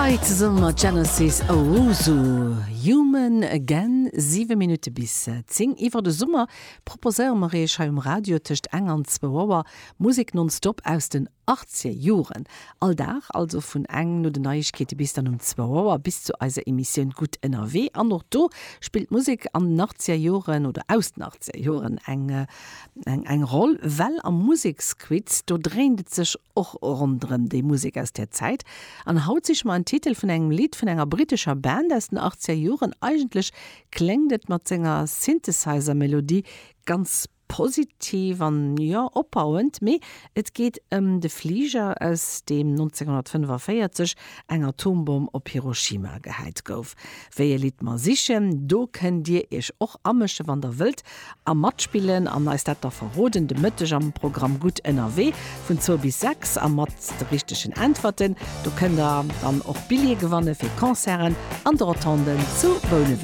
Hei zesumme mat Genesis Owusu, Human Again. 7 Minutte bis 10. Iwwer de Summer proposéiere mer iech hei um Radio tëscht eng an zwou Auer Musek nonstop aus den 80er Joren. All Dag also vun eng no den Neiegkeete bis dann um zwou Auer bis zu eiser Emissioun Gutt ënnerwee. An och do spillt d'Musek an den 80er Joren oder aus den 80er Joren eng eng Roll, well am Museksquiz do dréint et sech och ronderëm déi Musek aus där Zäit. An haut siche mer en Titel vun engem Lidd vun enger brittescher Band aus den 80er Joren. Eigentlech kléngt et mat senger Synthesizer-Melodie ganz positiv an, jo, opbauend, mee et geet ëm de Fliger, aus deem 1945 eng Atombomm op Hiroshima gehäit gouf. Wéi e Lidd mer sichen, do kënnt Dir Iech och amësche wann Der wëllt a matspillen an eis dat da verroden. De Mëtteg am Programm Gutt ënnerwee vun zwou bis 6 a mat de richtegen Äntwerten, do kënnt Der dann och Billjeeë gewanne fir Concerten an de Rotonden zu Bouneweg.